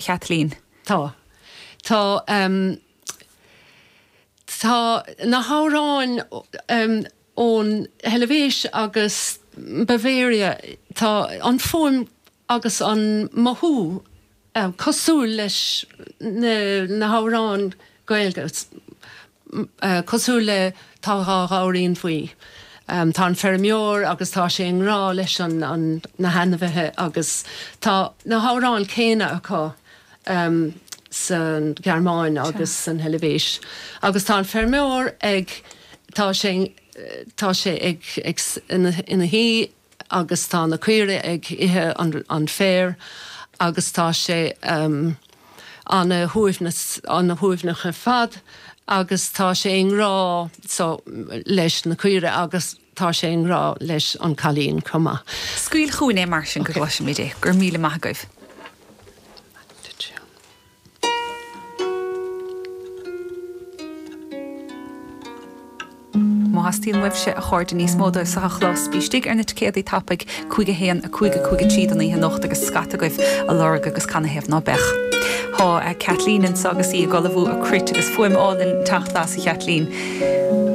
Chaitlín? Tá. Tá tá na hamhráin ón Heilvéis agus Bavaria, tá an fuaim agus an mothú cosúil leis na hamhráin Gaeilge, cosúil le Tá 2 Ghabhairín Bhuí. Tá an feirmeoir agus tá sé i ngrá leis an na hainmhithe agus tá na hamhráin céanna acu sa Ghearmáin agus san Heilvéis. Agus tá an feirmeoir ag, tá sé, tá sé ag, ag, ina shuí agus tá na caoirigh ag ithe an féar agus tá sé ana shuaimhneas, ana shuaimhneach ar fad agus tá sé i ngrá so leis na caoirigh agus tá sé i ngrá leis an cailín chomh maith. Scaoil chugainn é mar sin go gcloisfimid é. Go raibh míle maith agaibh. Má theastaíonn uaibhse, a chairde, níos mó dóibh seo a chlos, bí istigh ar na ticéadaí tapaidh, 5 1 5 5 3 don oíche anocht agus scata agaibh á lorg agus canathaobh ná beadh. Tá Kathleen anseo agus í ag ullmhú a cruit agus fuaim álainn ag teacht as, a Chaitlín.